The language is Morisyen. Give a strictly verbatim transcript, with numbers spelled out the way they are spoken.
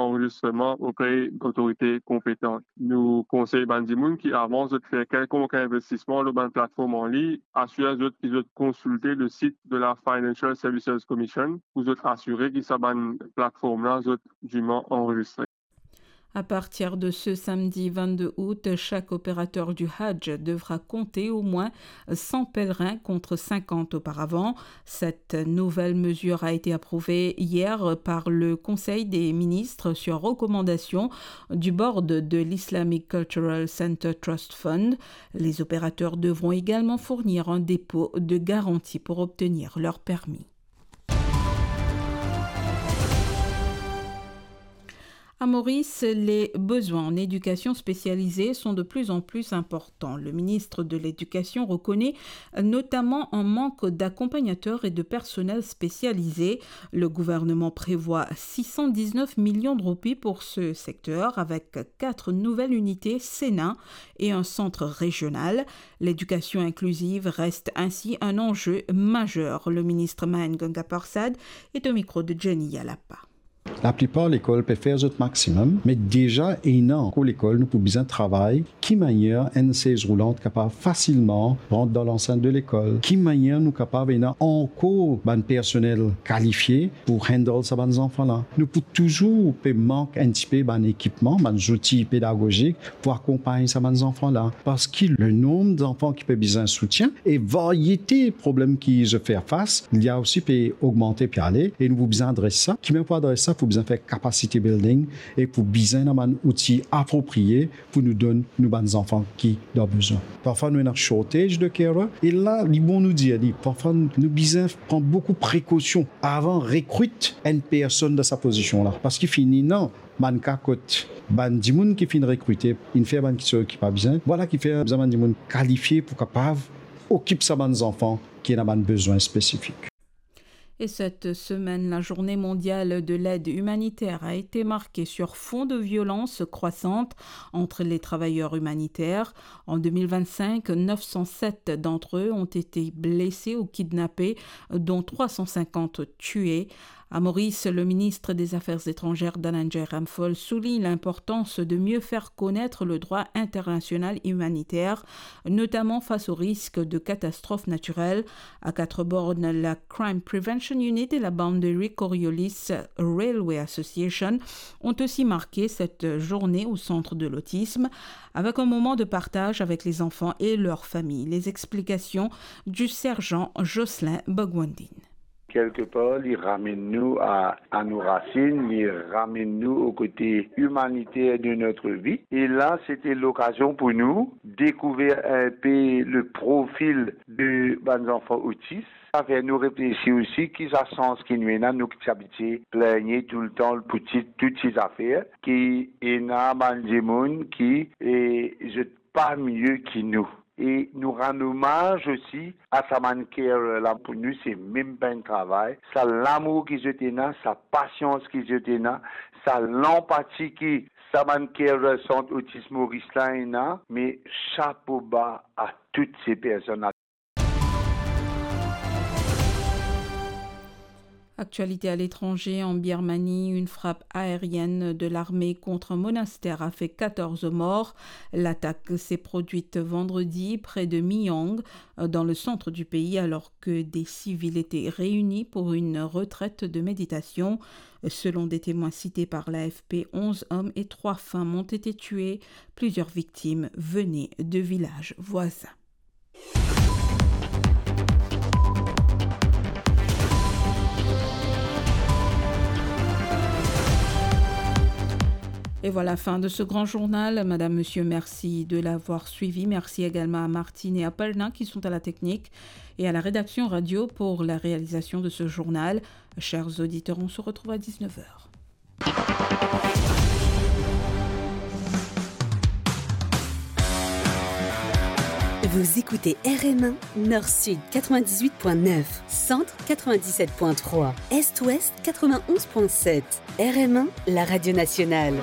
anrezistreman opre lotorite konpetan. Nou konsey bann dimoun ki avan zot fer kelkonk investisman lor bann platform anlign, asir zot ki zot konsilte le sit de la Financial Services Commission pou zot asire ki sa bann platform la zot diman anrezistre. À partir de ce samedi vingt-deux août, chaque opérateur du Hajj devra compter au moins cent pèlerins contre cinquante auparavant. Cette nouvelle mesure a été approuvée hier par le Conseil des ministres sur recommandation du board de l'Islamic Cultural Center Trust Fund. Les opérateurs devront également fournir un dépôt de garantie pour obtenir leur permis. À Maurice, les besoins en éducation spécialisée sont de plus en plus importants. Le ministre de l'Éducation reconnaît notamment un manque d'accompagnateurs et de personnel spécialisé. Le gouvernement prévoit six cent dix-neuf millions de roupies pour ce secteur, avec quatre nouvelles unités Sénin et un centre régional. L'éducation inclusive reste ainsi un enjeu majeur. Le ministre Mahen Ganga Persad est au micro de Jenny Yalapa. Laplipar lekol pe fer zot maximum, me deza ena ankor lekol nou pou bizin travay, ki manier enn sez roulant kapav fasilman rant dan lansent de lekol, ki manier nou kapav ena ankor bann personel kalifie pou handle sa bann zanfan la. Nou pou touzour pe mank enn tipe bann ekipman, bann zouti pedagozik pou akonpagn sa bann zanfan la, parski le nonb zanfan ki pe bizin soutien e variete problem ki zot fer fas, li osi pe ogmante pe ale, e nou pou bizin adres sa. Ki manier pou adres sa? Pou bizin fer capacity building e pou bizin ena bann outi apropriye pou nou donn nou bann zanfan ki dan bezwin. Parfwa nou ena shortage de carer, e la, li bon nou dir li, parfwa nou bizin pran boukou prekosion avan rekrit enn personn dan sa pozision la, parski fini ena bann ka kot bann dimoun ki finn rekrite, inn fer bann kiksoz ki pa bizin. Vwala ki fer bizin bann dimoun kalifie pou kapav okip sa bann zanfan ki ena bann bezwin spesifik. Et cette semaine, la journée mondiale de l'aide humanitaire a été marquée sur fond de violence croissante entre les travailleurs humanitaires. En deux mille vingt-cinq, neuf cent sept d'entre eux ont été blessés ou kidnappés, dont trois cent cinquante tués. À Maurice, le ministre des Affaires étrangères, Dananjay Ramphul, souligne l'importance de mieux faire connaître le droit international humanitaire, notamment face au risque de catastrophes naturelles. À quatre bornes, la Crime Prevention Unit et la Boundary Coriolis Railway Association ont aussi marqué cette journée au centre de l'autisme, avec un moment de partage avec les enfants et leurs familles. Les explications du sergent Jocelyn Bogwandin. Kelkepar, li ramenn nou a, a nou rasinn, li ramenn nou o kote imaniter de notre vie. E la, sete lokazion pou nou dekouver inpe le profil de bann zanfan otis. Sa fer nou reflesi osi ki sa sans ki nou ena, nou ki ti abitie pligne toultan pou ti, tou ti zafer, ki ena bann dimoun ki, e, zot pa mie ki nou. E nou rann omaz osi a sa bann carer la, pou nou se mem pa enn travay. Sa lamour ki zot ena, sa pasians ki zot ena, sa lanpati ki sa bann carer Sant Otis Moris la ena, me chapo ba a tout se personn la. Actualité à l'étranger, en Birmanie, une frappe aérienne de l'armée contre un monastère a fait quatorze morts. L'attaque s'est produite vendredi près de Myang, dans le centre du pays, alors que des civils étaient réunis pour une retraite de méditation. Selon des témoins cités par l'A F P, onze hommes et trois femmes ont été tués. Plusieurs victimes venaient de villages voisins. Et voilà, fin de ce grand journal. Madame, monsieur, merci de l'avoir suivi. Merci également à Martine et à Palna qui sont à la technique et à la rédaction radio pour la réalisation de ce journal. Chers auditeurs, on se retrouve à dix-neuf heures. Vous écoutez R M un, Nord-Sud quatre-vingt-dix-huit point neuf, Centre quatre-vingt-dix-sept point trois, Est-Ouest quatre-vingt-onze point sept. R M un, la radio nationale.